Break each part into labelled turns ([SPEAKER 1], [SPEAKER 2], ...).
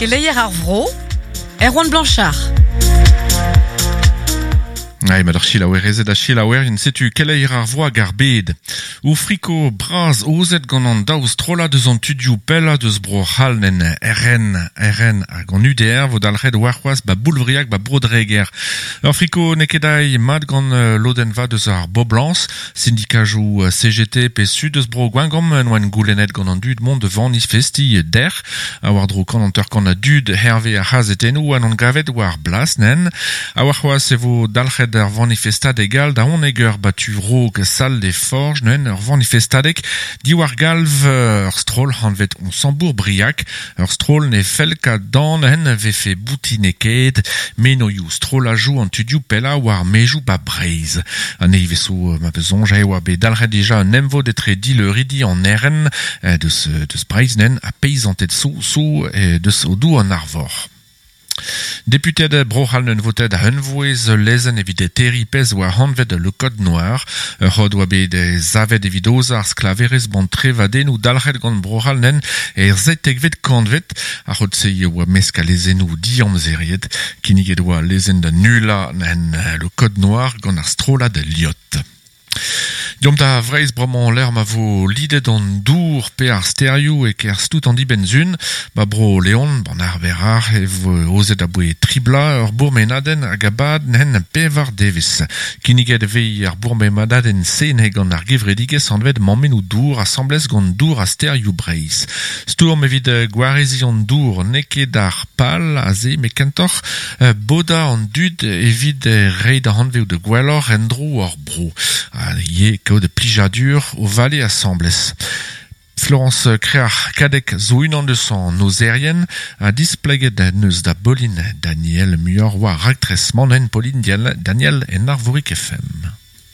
[SPEAKER 1] Keleier ar vro, Erwan Blanchard.
[SPEAKER 2] Ai, ma d'ar chilaouerezed ha chilaouerien, setu keleier ar vro hag ar bed. O friko bras ozet gant an daou strollad eus an tudioù pellañ deus bro C'hall en RN, RN hag an UDR vo dalc'het warc'hoazh ba Boulvriag ba Bro-Dreger. Ur friko n'eo ket aï mat gant lodenn vat eus ar boblañs. Sindikajoù CGT pe Sud eus bro Gwengamp en oant goulennet gant an dud mont da vanifestiñ dec'h. Ha war-dro kant hanter-kant a dud hervez ar c'hazetennoù a n'on gavet war blas nen. Ha warc'hoazh e vo dalc'het ar vanifestadeg all da 11 eur ba tu raok Salle des Forges neu'n ur vanifestadeg diwar galv ur stroll hanvet Onsambourg-Briac. Ur stroll ne fell ket dan en vefe boutinekaet menoioù strollajoù an tudioù pellañ war maezoù ba Breizh. An nevez zo ma peus soñj e oa bet dalc'het dija un emvod etre dileuridi an RN deus, deus Breizh nen ha peizanted so so deus Odoù an Arvor. Deputed Bro-C'hall n'eun votet a-unvouezh ul lezenn evit terriñ pezh oa anvet le Code Noir. Ur c'hod oa bet savet evit aozañ ar sklaverezh ban trevadennoù dalc'het gant Bro-C'hall nen er seitekvet kantved. Ar c'hod-se e oa mesk a lezennoù diamzeriet. Kinniget oa al lezenn da nullañ en le Code Noir gant ar strollad Liot. Deomp da Vreizh bremañ lec'h ma vo lidet an dour pe ar stêrioù e-kerzh tout an dibenn-sizhun. Ba Bro-Leon, ban Arver e vo aozet aboe tri bloaz ur bourmenadenn hag a bad n'hen pevar devezh. Kinniget e vez ar bourmenadenn-se neuze gant ar gevredigezh anvet Mammennoù Dour asambles gant Dour ha Stêrioù Breizh. Stourm evit gwareziñ an dour n'eo ket ar pal aze met kentoc'h bodañ an dud evit reiñ da anvezout gwelloc'h endro hor bro ha ivez kaout plijadur o vale asambles. Florence Kreac'h Kadek zo unan deus an ozerien ha displeget neus da Pauline Daniel muioc'h war raktres man Pauline Daniel en Arvorig FM.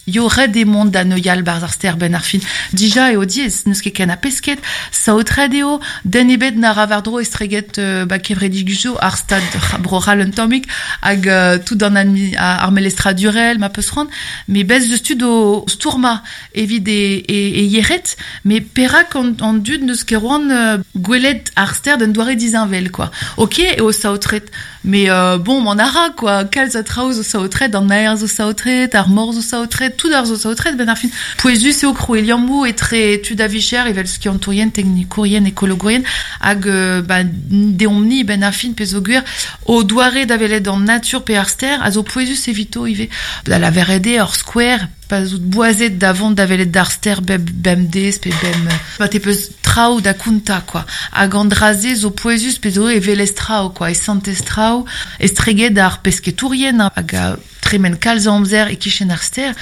[SPEAKER 3] Yo ret eo mont da neuial 'barzh ar stêr 'benn ar fin. Dija eo diaes, n'eus ket ken a pesked, saotret eo, den ebet na ra war-dro estreget ba kevredigezhioù ar stad Bro-C'hall un tammig hag tout an ar melestradurel ma peus c'hoant. Met bez eus tud o stourmañ evit e, e, e yec'hed, met perak an, an dud n'eus ket c'hoant gwelet ar stêr d'un doare disheñvel quoi. Ok eo saotret, Mais euh, bon, m'en a ra, quoi. Kalz a traoù zo saotret, an aer zo saotret, ar mor zo saotret, tout ar zo saotret, ben ar fin. Pouezus eo krouiñ liammoù etre tud a vicher, evel skiantourien, teknikourien, ekologourien, hag euh, ba, deomp-ni, ben ar fin, pezh zo gwir, o doare da welet an natur pe ar stêr a zo pouezus evito ivez. Da lavaret eo ur skouer, Pa 'z out boazet da vont da welet d'ar stêr bep bemdez pe bem... Pa te peus traoù da kontañ quoi. Hag an dra-se zo pouezus pe zo e welez traoù quoi, e santez traoù, estreget ar pesketourien hag a tremen kalz a amzer e-kichen ar stêr,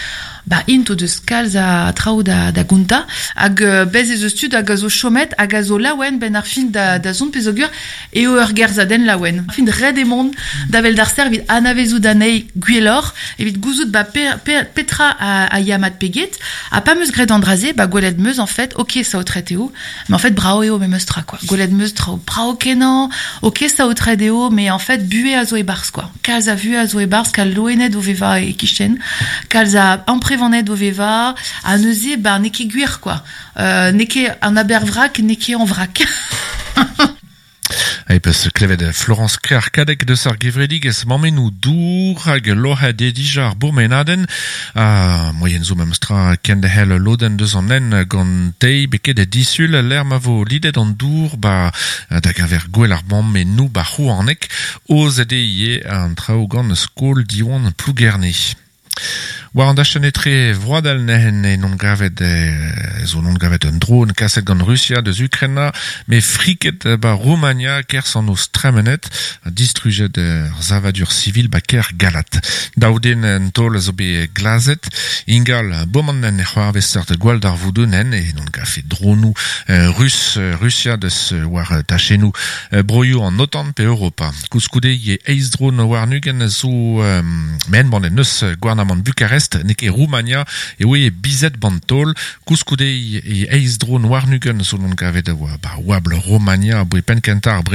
[SPEAKER 3] ba int o deus kalz a traoù da, da gontañ. Hag bez ez eus tud hag a zo chomet hag a zo laouen 'benn ar fin da, da zont peogwir eo ur gerzhadenn laouen. Fin ret eo mont da wel d'ar stêr evit anavezout anezhi gwelloc'h, evit gouzout ba pe, pe, petra a, a ya mat pe get. Ha pa 'meus graet an dra-se, ba gwelet 'meus en fait, ok saotret eo, mais en fait brav eo memes tra quoi. Gwelet 'meus traoù brav-kenañ, ok saotret eo, mais en fait buhez a zo e-barzh quoi. Kalz a vuhez a zo e-barzh, kalz loened o vevañ e-kichen, kalz a amprevaned o vevañ, ha neuze ba n'eo ket gwir quoi. Euh, n'eo ket an aber-vrak, n'eo ket an vrak.
[SPEAKER 2] E peus klevet Florence Kreac'h-Kadek deus ar gevredigezh Mammennoù Dour hag loc'het eo dija ar bourmenadenn. Ha moaien zo memestra kenderc'hel lodenn deus an hent gant teiz beket disul lec'h ma vo lidet an dour ba da geñver gouel ar mammennoù ba Rouaneg. Aozet eo ivez an traoù gant Skol Diwan Plougerne. War an dachenn etre vroadel neuze en gavet zo non gavet un dron kaset gant Rusia deus Ukraina met friket ba Roumania kerzh an noz tremenet ha distrujet ur savadur sivil ba kêr Galat. Daou den en taol a zo bet glazet. Ingal boman en c'hoarvez seurt gwalldarvoudoù nen e non gafe dronoù rus Rusia deus war tachennoù broioù an OTAN pe Europa. Koulskoude eo eizh dron warn-ugent zo met embannet neus gouarnamant Bukarest n'eo ket Roumania eo eo bizet ban taol. Koulskoude e eizh dron warn-ugent zo non gavet a oa ba oabl Romania aboe penn-kentañ ar brezel.